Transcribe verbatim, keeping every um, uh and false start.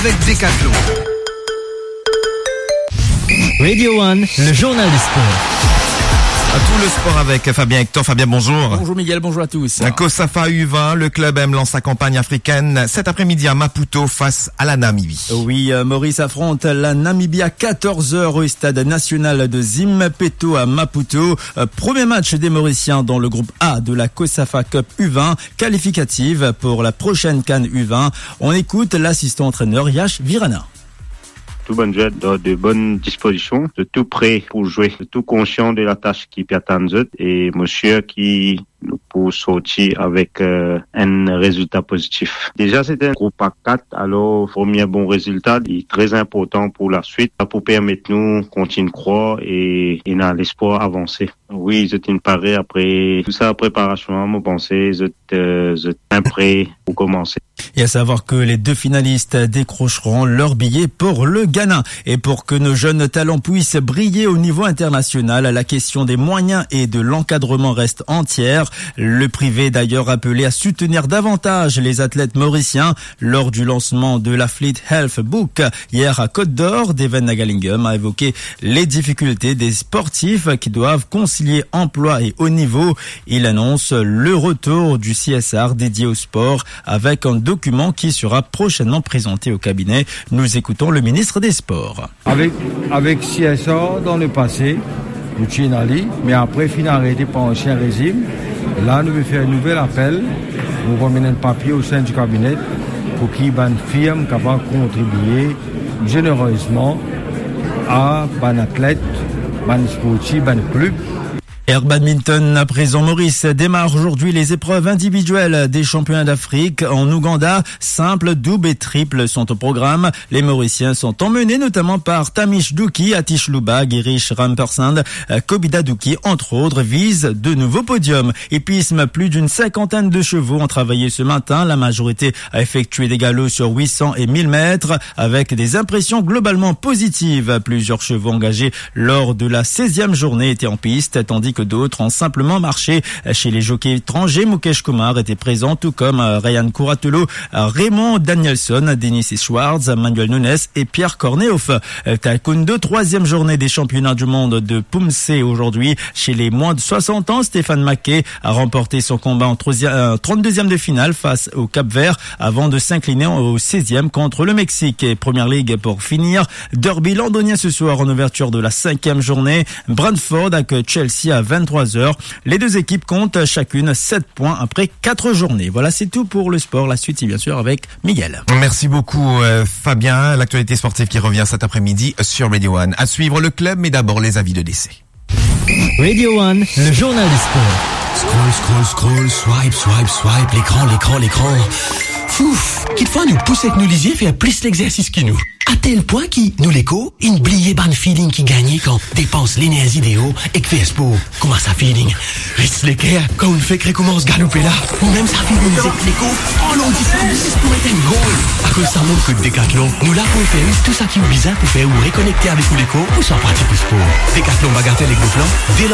Avec Decathlon. Radio One, le journal des sports. Tout le sport avec Fabien Hector. Fabien, bonjour. Bonjour Miguel, bonjour à tous. Cosafa U vingt, le club M lance sa campagne africaine cet après-midi à Maputo face à la Namibie. Oui, euh, Maurice affronte la Namibie à quatorze heures au stade national de Zimpeto à Maputo. Euh, premier match des Mauriciens dans le groupe A de la Cosafa Cup U vingt, qualificative pour la prochaine CAN U vingt. On écoute l'assistant entraîneur Yash Virana. Tou bann zwer dan de bonn dispozision, zot tou pre pou zwe, zot tou konsian de latas ki pe atann zot, e mo sir ki nou pou sorti avek, euh, enn rezilta pozitif. Deza, se enn group A kat, alor premie bon rezilta, li tre inportan pou laswit, pou permet nou kontign krwar e ena lespwar avanse. Wi, zot inn pare apre tou sa preparasion, mo panse zot, euh, zot bien pre pou komanse. Et à savoir que les deux finalistes décrocheront leur billet pour le Ghana. Et pour que nos jeunes talents puissent briller au niveau international, la question des moyens et de l'encadrement reste entière. Le privé est d'ailleurs appelé à soutenir davantage les athlètes mauriciens. Lors du lancement de l'Athlete Health Book hier à Côte d'Or, Deven Nagalingam a évoqué les difficultés des sportifs qui doivent concilier emploi et haut niveau. Il annonce le retour du C S R dédié au sport avec un document qui sera prochainement présenté au cabinet. Nous écoutons le ministre des Sports. Avek, avek C S R dan lepase, nou ti ena li, me apre finn arete par ansien rezim. La, nou pe fer nouvel apel, nou pou amenn enn papie o sein di kabinet pou ki bann firm kapav kontribie zenerezman a bann atlet, bann sportif, bann klib. Air badminton à présent, Maurice démarre aujourd'hui les épreuves individuelles des championnats d'Afrique en Ouganda. Simple, double et triple sont au programme. Les Mauriciens sont emmenés notamment par Tamish Duki, Atish Luba, Girish Rampersand, euh, Kobida Duki, entre autres, visent de nouveaux podiums. Hippisme, plus d'une cinquantaine de chevaux ont travaillé ce matin. La majorité a effectué des galops sur huit cents et mille mètres avec des impressions globalement positives. Plusieurs chevaux engagés lors de la seizième journée étaient en piste, tandis que d'autres ont simplement marché. Chez les jockeys étrangers, Mukesh Kumar était présent, tout comme, euh, Ryan Kuratolo, euh, Raymond Danielson, Dennis Schwartz, Manuel Nunes et Pierre Kornehoff. Euh, taekwondo, troisième journée des championnats du monde de Pumse aujourd'hui. Chez les moins de soixante ans, Stéphane Mackey a remporté son combat en troisième, euh, trente-deuxième de finale face au Cap-Vert avant de s'incliner au seizième contre le Mexique. Et Première Ligue pour finir. Derby londonien ce soir en ouverture de la cinquième journée. Brentford avec Chelsea à vingt-trois heures. Les deux équipes comptent chacune sept points après quatre journées. Voilà, c'est tout pour le sport. La suite, c'est bien sûr avec Miguel. Merci beaucoup, euh, Fabien. L'actualité sportive qui revient cet après-midi sur Radio One. À suivre le club, mais d'abord les avis de décès. Radio One, le journal des sports. Scroll, scroll, scroll, swipe, swipe, swipe, lekran, lekran, lekran. Fouf, kitfwa nou pous ek nou lizie fer plis lexersis ki nou. Atel pwin ki nou lekor inn bliye bann feeling ki gagne kan depans lenerzi deor ek fer spor. Kouma sa feeling? Res leker kan ou fek rekoumans galope la. Ou mem sa feeling zet lekor pran long distans zis pou met enn gol. Akoz sa mont kot Decathlon, nou la pou ofer ou tou seki ou bizin pou fer ou rekonekte avek ou lekor ouswa pratik ou spor. Decathlon, Bagatelle ek Beauplan, de